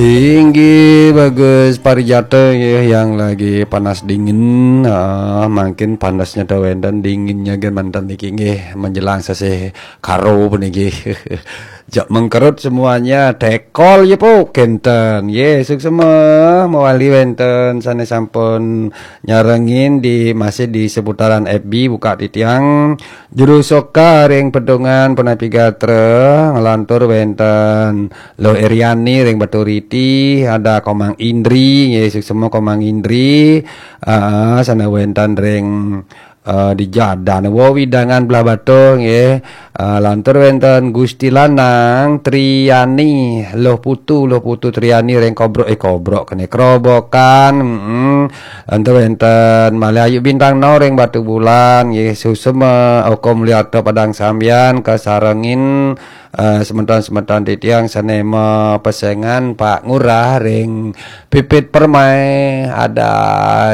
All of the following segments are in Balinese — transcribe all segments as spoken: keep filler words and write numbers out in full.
Inggih, bagus, parijato nggih, yang lagi panas dingin. Ah, mangkin panasnya dah wénten, dinginnya nggih manten niki nggih, menjelang sasih karo puniki. Jak mengkerut semuanya, tekol ya, Puk, kénten. Nggih, suksma mawali wénten sané sampun nyarengin di, masih di seputaran F B, buka titiang. Juru Soka ring Pedungan punapi gatra, nglantur wénten Luh Eriani ring Baturiti, ada Komang Indri, nggih, suksma Komang Indri, ah, sané wénten ring, eh, di Jadan, wewidangan Blahbatuh, nggih, ah, lantur wénten Gusti Lanang Triani, Luh Putu, Luh Putu Triani ring Kobrok, eh, Kobrok kéné, Krobokan, mm, lantur wénten malih Ayu Bintang No ring Batubulan, nggih, suksma Oko Mulyarta Padang Sambian, kasarengin, eh, semeton-semeton titiang sané mapesengan, Pak Ngurah ring Pipit Permai, ada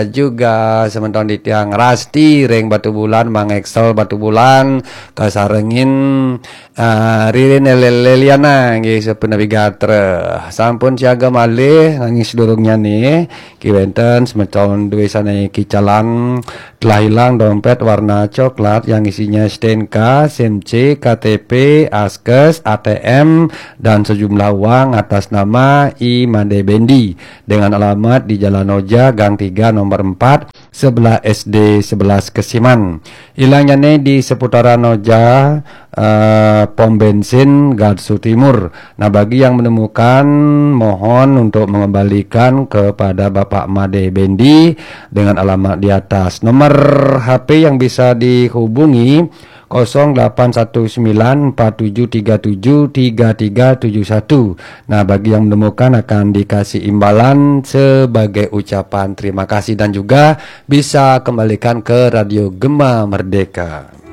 juga semeton titiang Rasti ring Batubulan, Mang Excel Batubulan, kasarengin, eh, Ririn Lel-, Leliana, nggih, sapunapi gatra. Sampun siaga malih, nanging sadurungnyané, ki wénten semeton dué sané kicalan, telah hilang dompet warna coklat yang isinya STNK, SIM C, K T P, askes, A T M, dan sejumlah uang atas nama I Made Bendi dengan alamat di Jalan Oja, Gang tiga, nomor empat, sebelah S D sebelas Kesiman. Hilangnyané di seputaran Oja, eh, pom bensin Gatsu Timur. Nah, bagi yang menemukan, mohon untuk mengembalikan kepada Bapak Made Bendi dengan alamat di atas. Nomor H P yang bisa dihubungi, kosong delapan satu sembilan empat tujuh tiga tujuh tiga tiga tujuh satu. Nah, bagi yang menemukan akan dikasih imbalan sebagai ucapan terima kasih dan juga bisa kembalikan ke Radio Gema Merdeka.